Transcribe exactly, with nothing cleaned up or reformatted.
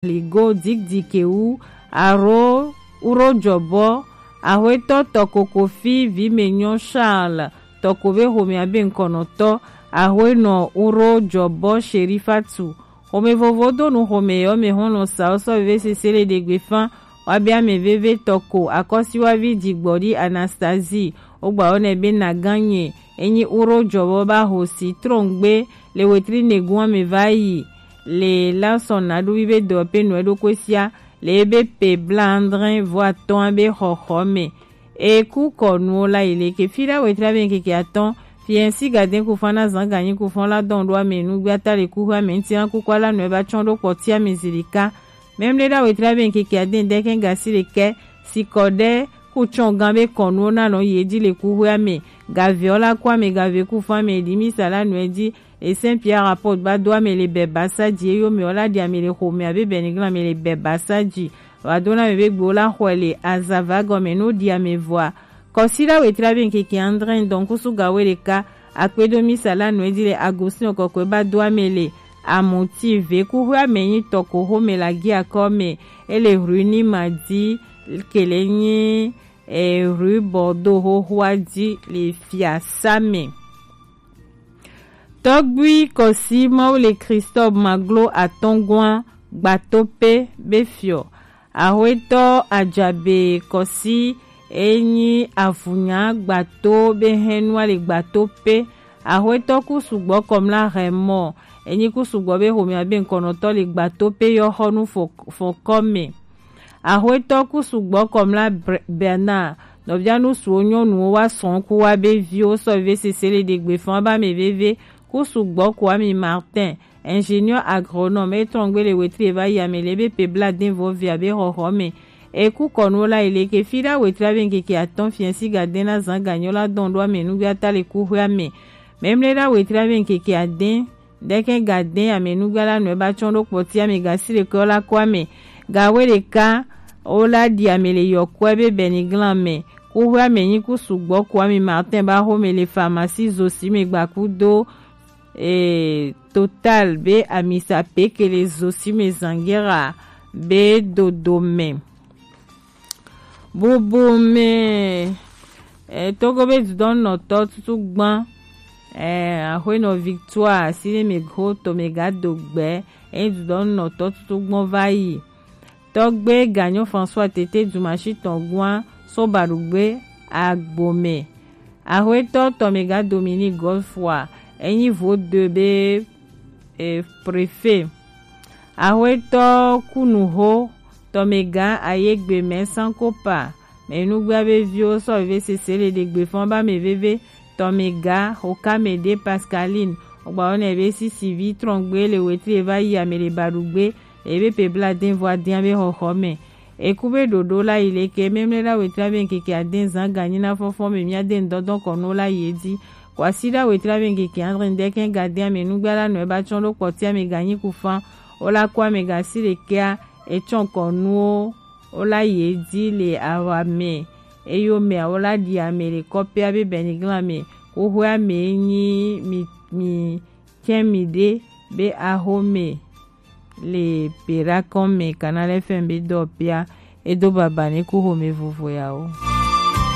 Ligo Dikdikewu, Aro Uro Jɔbɔ, Ahwetɔ Tɔko Kofi Vimenyo Charles, Tɔko be xomɛ abe ŋkɔnɔtɔ, Ahwenɔ Uro Jɔbɔ Sherifatu. Xomɛ vovo do nu xomɛ yɔ mɛ hɔn nɔ sa osɔ veve sese le ɖegbe fan, wa be ame veve Tɔko Akɔsiwavi Jigbɔdi Anastasie, wogba wɔ nɛ be na ganye, enyi Uro Jɔbɔ ba ho si trɔngbe le wetri negun ame va yi. Le la sɔn na ɖo vive dɔ pe nɔ ɖo ko sia le ebe pe bla andre vo atɔn be xɔxɔ me. E ku kɔ nuwo la yi le ke fi ɖa wetri abe keke atɔn, fiɛnsi gaden ku fan na zan ganyi ku fan la dɔn ɖo ame nu gbe ata le ku hwe ame ŋti na ku kwa la nɔ ba tsɔn ɖo kpɔti ame zilika. Mɛmle ɖa wetri abe keke aden dɛ kɛn gasi le kɛ, sikɔ ɖe ku tsɔn gan be kɔ nuwo na lɔn ye di le ku hwe ame. Gave ɔ la ku ame gave ku fan ame di mi sa la nɔ di. Esen Pierre Apôtre ba do ame le bɛ basa di eyo mɛ ɔ la di ame le xomɛ abe bɛ ni glan ame le bɛ basa di. Wa do na ame be gbe o la xɔe le azava gɔme no di ame vɔa. Kɔsi la wetri abe nkeke andre dɔn kusu gawe ɖeka. Akpedo mi sa la nɔ di le Agustin kɔkɔe ba do ame le amuti ve ku hwe ame nyi Tɔko xomɛ la gi akɔ mɛ. Ele rue ni ma di kele nyi e rue Bordeaux xoxoa di le fiasa mɛ. Tɔgbui Kɔsi Mawu le Christophe Maglo atɔngɔa gbato pe be fiɔ. Ahwetɔ Ajabe Kɔsi enyi avunya gbato be hɛnua le gbato pe. Ahwetɔ ku sugbɔ kɔmla hɛmɔ enyi ku sugbɔ be xomɛ abe ŋkɔnɔtɔ le gbato pe yɔ xɔnu fɔkɔ mɛ. Ahwetɔ ku sugbɔ kɔmla Bernard nɔvia nu suwo nyɔnuwo wa sɔn ku wa be viwo sɔ ve sese le ɖegbe fan ba mɛ veve ku sugbɔ ku ami Martin ingénieur agronome etɔn gbe le wetri va yi ame le be pe bla den vɔ via be xɔxɔ mɛ. Eku kɔnuwo la yi le ke fi ɖa wetri abe ŋkeke atɔn fiɛnsi gaden na zan ganyɔ la dɔn ɖo ame nugbe ata le ku hwe ame. Mɛmle ɖa wetri abe ŋkeke aden ɖekɛ gaden ame nugbe la nɔ ba tsɔn ɖo kpɔti ame gasi le kɔ la kɔ ame. Gawe ɖeka wo la di ame le yɔkɔe be bɛni glan mɛ. Ku hwe ame nyi ku sugbɔ ku ami Martin ba xomɛ le pharmacie zosi me gbaku do e, Total be amisa pekele zosi me zangera be dodo me. Bubu me e, Togo be dudɔnnɔtɔ tutu gban e, axwenɔ Victoire si ne me go to me ga do gbe e, dudɔnnɔtɔ tutu gban va yi. Tɔgbe Ganyo François tete dumashi tɔn gua so baɖugbe agbome. Axwetɔ Tɔmega Dominique Godfroy enyi vo de be e, préfet. Axwetɔ Kunuho Tɔmega Ayegbe mɛ Sankopa mɛ nugbea be viwo sɔ veve sese le ɖegbe fɔn ba mɛ veve Tɔmega Hokamede Pascaline ogba wɔ nɛ be sisi vi trɔngbe le wetri e va yi ame le baɖugbe ebe pe bla den vɔ adian be xɔxɔ mɛ. Eku be ɖoɖo la yi leke mɛmlɛ la wetri abe ŋkeke aden zan ganyi na fɔfɔ mɛ mia den dɔdɔn kɔnu la yi edi. Kwasi la wetri abe ŋkeke andre ndɛkɛ gaden ame nugba la nɔ eba tsɔn ɖo kpɔti ame ganyi ku fan. O la kɔ ame gasi lekea etsɔn kɔnuwo o la yi edi le awa mɛ. Eyo mɛ o la ɖi ame le kɔpɛ abe bɛniglan mɛ. Xoxoe ame nyi mi mi kɛn mi ɖe be axome le Berakɔn mɛ Canal F M be dɔ pia edo baba ne ku xome vovo ya o.